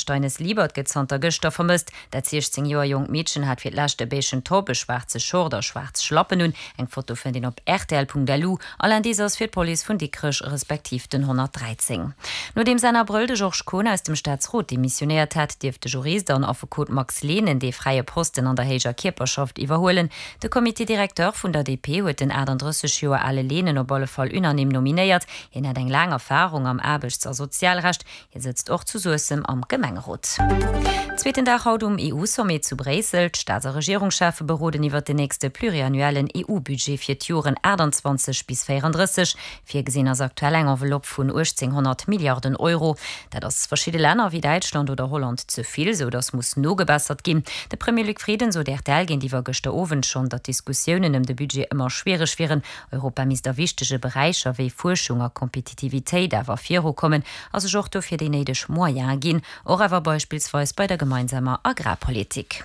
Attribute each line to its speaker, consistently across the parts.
Speaker 1: Steines-Liebert gëtt zanter gëschter vermësst. Dat 16 Joer jonkt Meedchen hat fir d'lescht e beigen Top, e schwaarze Short a schwaarz Schlappen un. Eng Foto fënnt een op rtl.lu. All Indice ass fir d'Police vun Dikrech respektiv den 113. Nodeems Enn Abrëll de Georges Kohn aus dem Staatsrot demissionéiert hat, dierf de Jurist an Affekot Max Lehnen dee fräie Posten an der héijer Kierperschaft iwwerhuelen. De Comité directeur vun der DP huet den 38 Joer ale Lehnen op alle Fall unanime nominéiert. Hien hätt eng laang Erfarung am Aarbechts a Sozialrecht. Hie sëtzt och zu Suessem am Gemengerot. Zweeten Dag haut um EU-Sommet zu Bréissel. D'Staats a Regierungscheffe beroden iwwert den nächste pluriannuellen EU-Budget fir d'Joren 28 bis 34. Virgesinn ass aktuell eng Enveloppe vun 1.800 Milliarden Euro. Dat ass verschidde Länner wéi Däitschland oder Holland ze vill, sou datt muss nogebessert ginn. De Premier Luc Frieden sot rtl géintiwwer gëschter Owend schonn, datt d'Diskussiounen ëm de Budget ëmmer schwiereg wieren. Europa misst a wichtege Beräicher wéi Fuerschung a Kompetitivitéit awer virukommen a sech och dofir déi néideg Moyene ginn, och awer beispillsweis bei der gemeinsamer Agrarpolitik.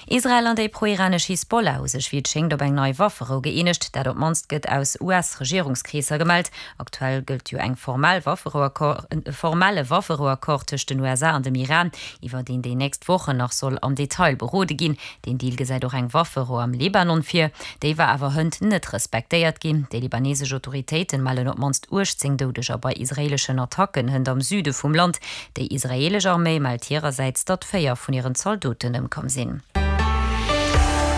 Speaker 1: Israel an déi pro-iranesch Hisbollah hu sech wéi et schéngt op eng nei Wafferou gëeenegt. Dat op d'mannst gëtt aus US-Regierungskreesser gemellt. Aktuell gëllt jo eng formell Wafferouaccord, e formelle Wafferouaccord tëscht den USA an dem Iran, iwwer deen déi nächst Wochen nach soll am Detail berode ginn. Deen Deal gesäit och eng Wafferou am Libanon vir. Déi war awer hënt net respektéiert ginn. Déi libanesesch Autoritéiten mellen op d'mannst 18 Doudeger bei israeeleschen Attacken hënt am Süde vum Land. Déi israeelesch Arméi mellt hirersäits, datt 4 vun hiren Zaldoten ëmkomm sinn.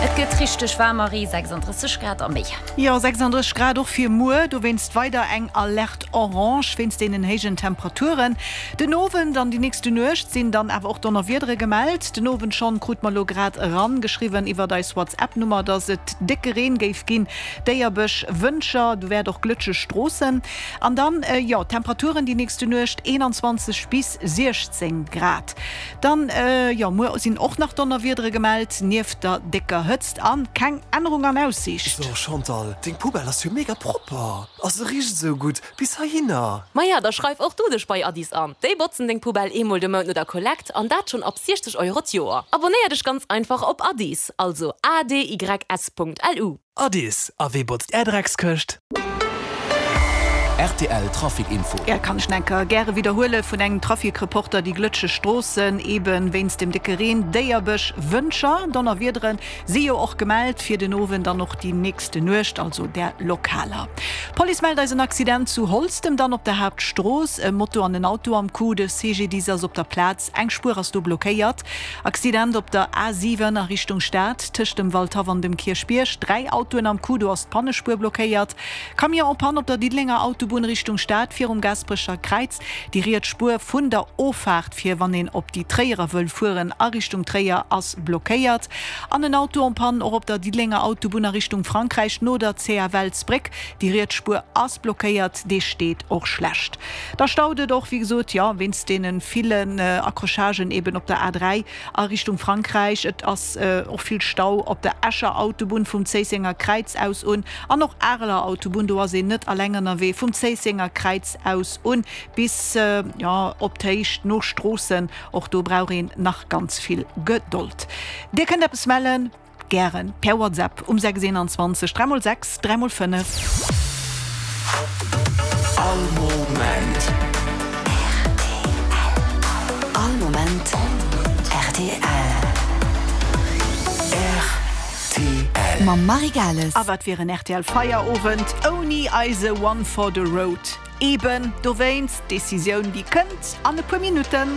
Speaker 1: Et gëtt richteg waarm, Marie, 36 Grad a méi.
Speaker 2: Jo, 36 Grad och fir muer, dowéinst weider eng Alerte orange wéinst deenen héijen Temperaturen. Den Owend an déi nächste Nuecht sinn dann awer och Donnerwiedere gemellt. Den Owend schonn krut mer elo grad eran geschriwwen iwwert eis WhatsApp-Nummer, dass et décke Reen géif ginn, Déierbech, Wëntger, do wäert och glëtscheg Stroossen. An dann, jo, d'Temperaturen déi nächste Nuecht 21 bis 16 Grad. Dann, jo, muer sinn och nach Donnerwiedere gemellt, nieft der décker Hëtzt an keng Ännerung an Aussiicht.
Speaker 3: So Chantal, deng Poubelle ass jo mega propper a se richt esou gutt bis heihinner.
Speaker 4: Maja, da schreif och du dech bei Addis an. Déi botzen deng Poubelle eemol de Mount no der Kollekt an dat schonn ab 60 Euro d'Joer. Abonnéier dech ganz einfach op Addis, also adys.lu.
Speaker 3: Addis, a wee botzt är Dreckskëscht?
Speaker 5: Rtl Trafic Info.
Speaker 2: Ja, kann ech enker gäre widderhuele vun engem Traficreporter, déi glëtscheg Stroossen eben wéinst dem décke Reen, Déierbech, Wëntger, Donnerwiedere si jo och gemellt fir den Owend an och déi nächste Nuecht, also där lokaler. D'Police mellt eis en Accident zu Holztem, dann op der Haaptstrooss, e Moto an en Auto am Coup. De CGDIS ass op der Plaz, eng Spuer ass do blockéiert. Accident op der A 7 a Richtung Stad, tëscht dem Waldhaff an dem Kierchbierg, 3 Autoen am Coup, do ass d'Pannespuer blockéiert. Camion en panne op der Diddelenger Autobunn Richtung Stad, virum Gaasperecher Kräiz, déi riets Spuer vun der Offaart fir wann een op déi Tréierer wëll fueren a Richtung Tréier ass blockéiert. An en Auto en panne och op der Diddelenger Autobunn a Richtung Frankräich no der CFL-Sbréck, déi riets Spuer ass blockéiert, dee steet och schlecht. Da staut et och, wéi gesot, jo, wéinst deene villen Accrochagen eben op der A3 a Richtung Frankräich. Et ass och vill Stau op der Escher Autobunn vum Zéissenger Kräiz aus un an och Areler Autobunn, do ass een net alleng ënnerwee, vum Zéissenger Kräiz aus un bis, jo, op d'Héicht no Stroossen. Och do brauch een nach ganz vill Gedold. Dir kënnt eppes mellen? Gären per WhatsApp um 6 21 3 x 6 3 x 5.
Speaker 5: All Moment rtl.
Speaker 6: All Moment rtl.
Speaker 5: Rtl.
Speaker 6: Mam Marie Gales.
Speaker 2: A wat wier en rtl Feierowend ouni eise One for the Road? Eben dowéinst, d'Decisioun déi kënnt an e puer Minutten.